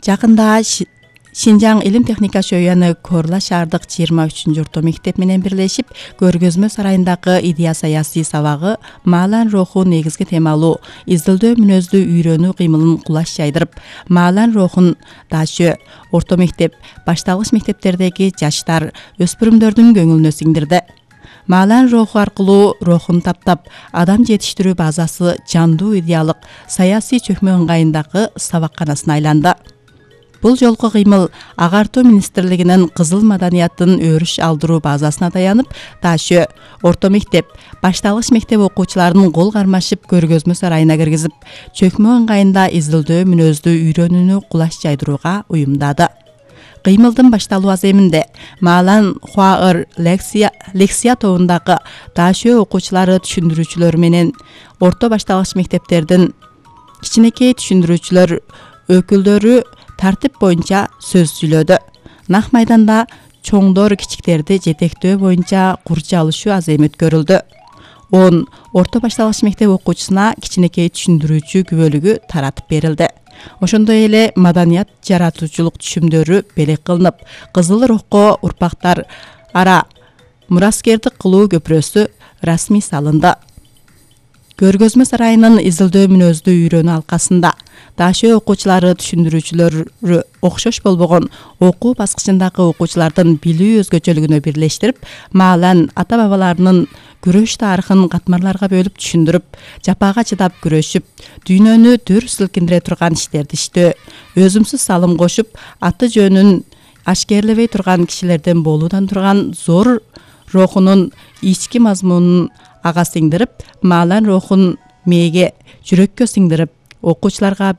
Жакында Шинжаң илим техника шөйөөнү Корла шаардык 23 орто мектеп менен бирлешип, көргөзмө сарайындагы идея саясий сабагы маалан руху негизги темалуу изилдөө мүнөздүү үйрөнүү кыймылын кулаш жайдырып, маалан рухун дашы орто мектеп, башталгыч мектептердеги жаштар, өспүрүмдөрдүн көңүлүнө сиңдирди. Маалан руху аркылуу рухун таптап, адам жетиштирүү базасы жандуу идеалык саясий чөкмө ыңгайындагы сабакканасына айланды. Бул жолку кыймыл Агартуу министрлигинин кызыл маданияттын өрүш алдыруу базасына таянып, дашы орто мектеп, башталгыч мектеп окуучуларынын кол кармашып көргөзмө сарайына киргизип, чөкмө ыңгайында изилдөө мүнөздүү үйрөнүүнү кулаш жайдырууга уюмдады. Кыймылдын башталуу аземинде Маалан Хуаыр лекция тобундагы дашы окуучулары түшүндүрүүчүлөр менен орто башталгыч мектептердин кичинекей түшүндүрүүчүлөр өкүлдөрү тартип боюнча сөз сүйлөдү. Нак майданда чоңдор кичиктерди жетектөө боюнча курча алышуу аземи өткөрүлдү. 10 орто башталгыч мектеп окуучусуна кичинекей түшүндүрүүчү күбөлүгү таратып берилди. Ошондой эле маданият жаратуучулук түшүмдөрү белек кылынып, кызыл рухко урпактар ара мураскердик кылуу көпүрөсү расмий салынды. Көргөзмө сарайынын изилдөө мүнөздүү үйрөнүү алкасында дашы окуучулары түшүндүрүүчүлөрү окшош болбогон окуу баскычындагы окуучулардын билүү өзгөчөлүгүнө бирлештирип, маалан ата-бабаларынын күрөш тарыхын катмарларга бөлүп түшүндүрүп, жапага чыдап күрөшүп, дүйнөнү дүр силкиндире турган иштерди иштөө, өзүмсүз салым кошуп, аты жөнүн ашкерлебей турган кишилерден болуудан турган зор рухунун ички мазмунун ага сиңдирип, маалан рухун мээге, жүрөккө сиңдирип, окуучуларга